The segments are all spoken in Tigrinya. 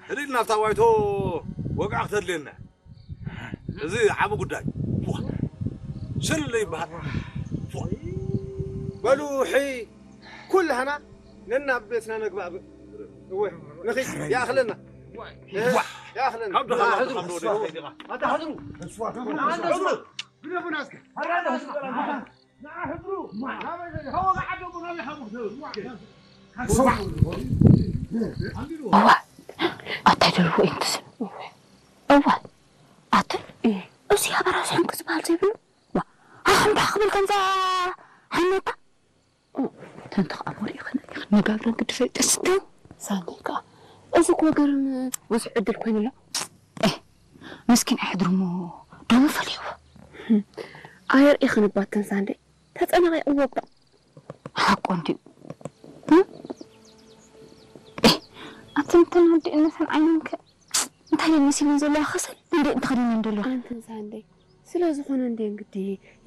ህድእ ኢልና ኣብታ ዋይቶ ወግዓ ክተድልየና። እዚ ዓቢ ጉዳይ። ዋ፣ ሽል ይበሃል። ዋ። በሉ፣ ሕይ፣ ኩላህና ነናብ ቤትና ነግባእ። እወ፣ ንኺድ፣ ይኣኽለና። ዋ። ይኣኽለና። ካብ ድኻ ናብ ሕድሩ። ኣታ ሕድሩ። ሕድሩ። ግደፉና እስከ። እዋ ኣታይ ደልዎ እዮም ትስል እዋ ኣቲ እዚ ኣበራስሖም ክዝበሃል ዘይብሉ ዋ ኣኹም ዳ ክብል ከምዛ ሓነታ ተንተ ከዓ ወሪእኽን ነጋብረን ግዲ ፈይጥስተ ሳንዴ ከዓ እዚ እኮ ገርም ብዙሕ ዕድል ኮይኑሎ ምስኪን ኣሕድርሞ ደሞ ፈሊሕዎ ኣየር ኢኽንባተን ሳንዴ ተጸናቒቕዎ እባ ሓቁ እንድዩ ኣቲ እንተን ኣዲእነተን ዓይነን ከ እንታይ ደን መሲለን ዘለዋ ከሰል እንዴ እንተኸዲነን ዘለዋ ኣንተን ሳንደይ ስለ ዝኾነ እንዴ እንግዲ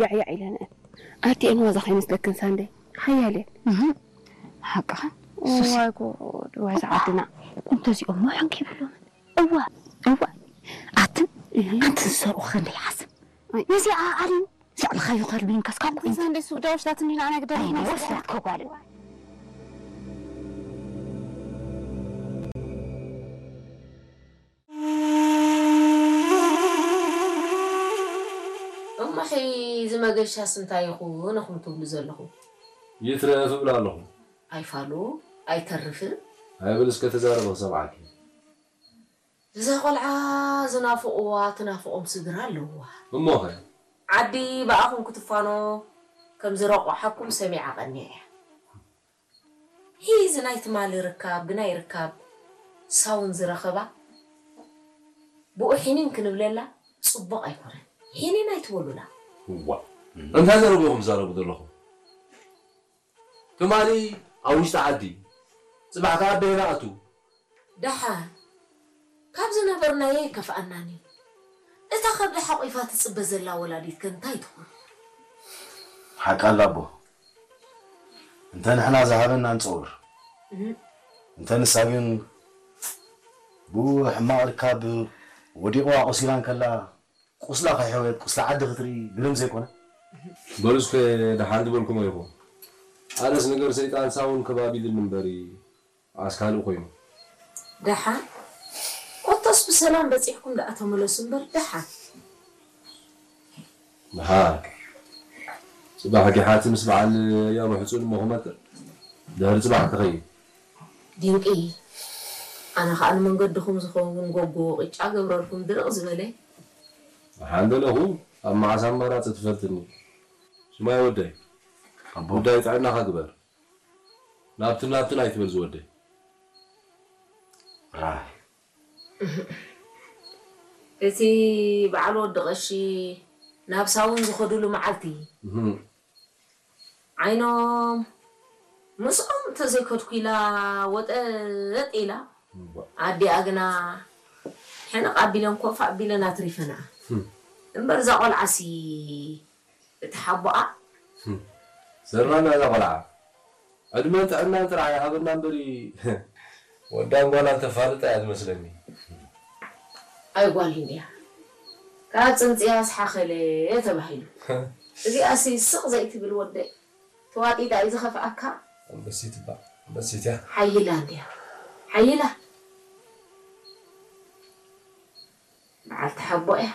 ያዕያዕ ኢለንአን ኣዲአን ዋዛ ከይመስለክን ሳንደይ ሓያል እየን ሓቅኽን ዋይ ጉድ ዋይ ዝዓድና እንተዚኦም ሞ ሕንኪ ይብሎምን እዋ እዋ ኣትን ኣንትን ዝሰርቑ ከንደይ ሓስብ ነዚኣ ኣሊን ዛዕባኻ ይኸርብን ከስካብ ኮይን ሳንዴ ሱዳዎች ላትኒ ንዓና ግደፍ ኣይነ ወስዳት ከጓል እሞ ሕይ እዚ መገሻስ እንታይ ይኹን ኢኹም ትብሉ ዘለኹም? ይትረፍ እብል ኣለኹ። ኣይፋሉ ኣይተርፍን። ኣይብል እስከ ተዛረበ ክሰምዓኪ። እዛ ቆልዓ ዝናፍቕዋ ትናፍቖም ስድራ ኣለውዋ። እሞኸ? ዓዲ ብኣኹም ክትፋኖ ከም ዝረቑሓኩም ሰሚዓ ቀንየ እያ። ሂዚ ናይ ትማሊ ርካብ ብናይ ርካብ ሳውን ዝረኸባ ብኡ ሒኒን ክንብለላ ጽቡቕ ኣይኮነን። ሒኒን ኣይትበሉላ። እዋ እንታይ ዘረብኹም ትዛረቡ ዘለኹም? ትማሊ ኣብ ውሽጢ ዓዲ ጽባሕ ከኣ ኣደይ ንኣቱ። ደሓን ካብ ዝነበርናዮ ኣይከፍኣናን እዩ። እታ ከብዲ ሓቒፋ ትጽበ ዘላ ወላዲት ከ እንታይ ትኹን? ሓቃ ኣላ ኣቦ። እንተ ንሕና ዝሃበና ንጸውር። እንተ ንሳ ግን ብኡ ሕማቕ ርካብ ወዲቕዋ ቆሲላ እንከላ ቁስላ ከይሕወየት ቁስሊ ዓዲ ክትርኢ ግርም ዘይኮነ? በሉ እስከ ደሓን ዝበልኩሞ ኢኹም። ኣነስ ነገር ሰይጣን ሳውን ከባቢሉኒ እምበሪ ኣስካሊ ኮይኑ። ደሓን ኮቶስ ብሰላም በጺሕኩም ደኣ ተመለሱ እምበር ደሓን። ደሓን ጽባሕ ጊሓቲ ምስ በዓል ያቡ ሕጹን እሞ ክመጥር ድሕሪ ጽባሕ ክኸይድ። ዲንቂ ኣነ ኸኣ ንመንገድኹም ዝኸውን ጎጎ ቕጫ ገብረልኩም ድርቕ ዝበለ። ደሓን ደለኹ ኣብ መዓስ ኣማራጺ ትፈልጥኒ። ስማይ ወደይ ኣቦ ጉዳይ ጥዕናኻ ግበር። ናብትን ናብትን ኣይትበል ዝወደይ። ራህ እቲ በዓል ወዲ ቐሺ ናብ ሳውን ዝኸዱሉ መዓልቲ እህም፣ ዓይኖም ምስኦም እንተዘይከድኩ ኢላ ወጠጥ ኢላ እዋ፣ ኣዲኣ ግና ሕንቕ ኣቢለን ኮፍ ኣቢለን ኣትሪፈንኣ። እም፣ እምበር እዛ ቖልዓሲ እቲ ሓቦኣ ዘራና እዛ ቆልዓ ዕድመን ጥዕናን ጥራሕ ይሃበና እምበሪ ወዳን ጓላን ተፋልጣ እያ ዝመስለኒ። ኣይ ጓል እንድያ ካብ ጽንጽያስ ሓኸለ ተባሂሉ። እዚኣሲ ስቕ ዘይትብል ወደይ ተዋጢጣ እዩ ዝኸፍኣካ። ኣንበሲት እባ ኣንበሲት እያ። ሓይላ እንድያ ሓይላ በዓልቲ ሓቦ እያ።